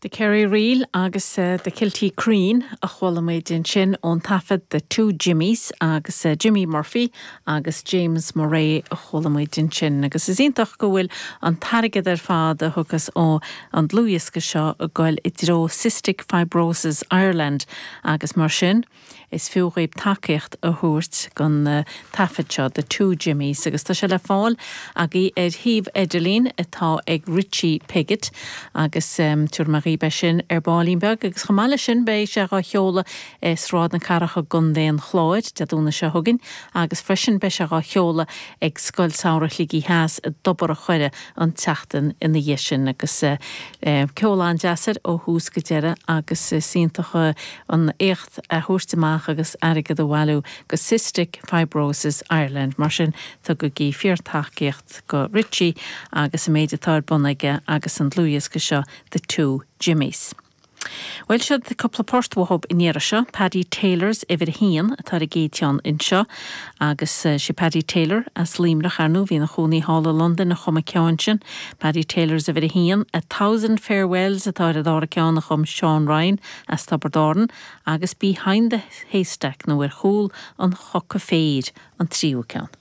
The Kerry Reel agus The Kilteacreen a chuala muid ansin ón taifead The Two Jimmies agus Jimmy Murphy agus James Murray a chuala muid ansin agus is iontach go bhfuil an t-airgead ar fad a thiocfas ó an dlúthdhiosca seo ag goil i dtreo Cystic Fibrosis Ireland agus mar sin Is fiú dhaoib tacaíocht a thabhairt don taifead seo, The Two Jimmies, agus tá sé le fáil agaibh ar shuíomh idirlín atá ag Richie Piggott agus tabharfaidh mé dhaoib é sin ar baillín beag agus chomh maith leis sin beidh sé dhá sheoladh i Sráid na Cathrach i gContae an Chláir Dé Domhnaigh seo chugainn agus freisin beidh sé dhá sheoladh ag Scoil Samhraidh Shligigh Theas i dTobar a' Choire an tseachtain ina dhiaidh sin agus ceol an-deas air ó thús go deireadh agus is iontach an éacht a thabhairt amach agus airgead a bhailiú go Cystic Fibrosis Ireland. Mar sin tugaigí fíor-tacaíocht go Richie agus an méid atá ar bun aige agus an dlúthdhiosca seo The Two Jimmies. Bhuel, siod cúpla port uathub an iarraidh seo. Paddy Taylor's uimhir a haon atá ar an gcéad cheann anseo agus sé Paddy Taylor as Luimneach, ar ndóigh, a bhí ina chónaí thall i Londain a chum an ceann sin. Paddy Taylor's uimhir a haon, A Thousand Farewells atá ar an dara ceann a chum Seán Ryan as Tiobraid Árann agus Behind the Haystack nó Ar Chúl an Choca Féir an tríú ceann.